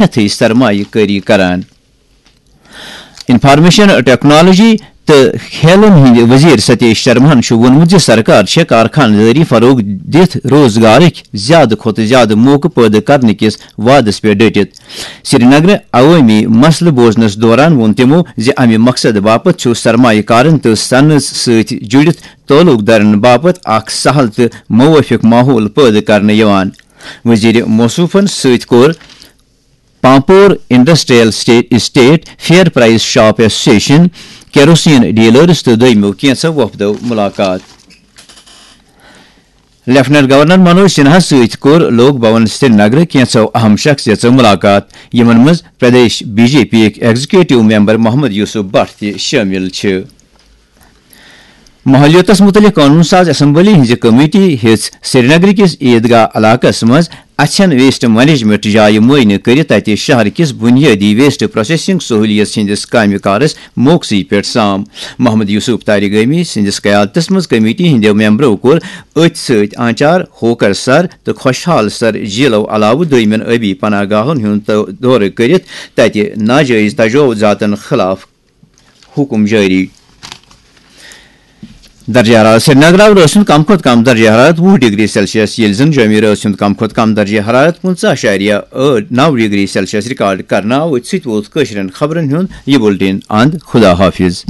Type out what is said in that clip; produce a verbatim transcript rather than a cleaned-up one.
ہیتھٕے سرمایہ کٲری کران۔ انفارمیشن ٹیکنالوجی تہٕ کھیلن ہٕنٛدۍ وزیر ستیش شرماہن چھُ ووٚنمُت زِ سرکار چھےٚ کارخانہٕ دٲری فروغ دِتھ روزگارٕکۍ زیادٕ کھۄتہٕ زیادٕ موقعہٕ پٲدٕ کرنہٕ کِس وعدس پٮ۪ٹھ ڈٔٹِتھ۔ سرینگرٕ عوٲمی مسلہٕ بوزنس دوران ووٚن تِمو زِ امہِ مقصدٕ باپتھ چھُ سرمایہ کارن تہٕ صنعت سۭتۍ جُڑِتھ تعلق دارن باپتھ اکھ سہل تہٕ موٲفِق ماحول پٲدٕ کرنہٕ یِوان۔ وزیر موصوفن سۭتۍ کوٚر Pampore industrial estate, estate fair price shop association, kerosene dealers تہٕ دوٚیمو کینٛژھو وفدو ملاقات۔ لیفٹیننٹ گورنر منوج سنہا سۭتۍ کوٚر لوک بھون سرینگرٕ کینٛژھو اہم شخصیژو ملاقات، یِمن منٛز پردیش بی جے پی یٕکۍ ایگزیکٹو ممبر محمد یوسف بٹ تہِ شٲمِل چھِ۔ ماحولیاتس متعلق قونوٗن ساز اسمبلی ہٕنٛزِ کمیٹی ہیٚژ سرینگرٕ کِس عیدگاہ علاقس منٛز اَژھٮ۪ن ویسٹ مینجمنٹ جایہِ معائنہٕ کٔرِتھ تَتہِ شہر کِس بُنیٲدی ویسٹ پروسیسنگ سہولیت ہٕنٛدِس کامہِ کارس موقعسٕے پٮ۪ٹھ سام۔ محمد یوسف طارق گٲمی سٕنٛدِس قیادتس منٛز کمیٹی ہٕنٛدیو ممبرو کوٚر أتھۍ سۭتۍ آنچار، ہوکر سر تہٕ خوشحال سر جیلو علاوٕ دوٚیمٮ۪ن ٲبی پناہ گاہن ہُنٛد دورٕ کٔرِتھ تَتہِ ناجٲیز تجاوزاتن خلاف حکم جٲری۔ درجہ حرارت۔ سرینگر آو رٲژ ہُنٛد کم کھۄتہٕ کم درجہ حرارت وُہ ڈگری سیلسیس، ییٚلہِ زن جومہِ رٲژ ہُنٛد کم کھۄتہٕ کم درجہ حرارت پٕنٛژٕہ اعشاریہ ٲٹھ نو ڈگری سیلسیس ریکارڈ کرنہٕ آو۔ أتھۍ سۭتۍ ووت کٲشرٮ۪ن خبرن ہُنٛد یہِ بُلٹن اند۔ خدا حافظ۔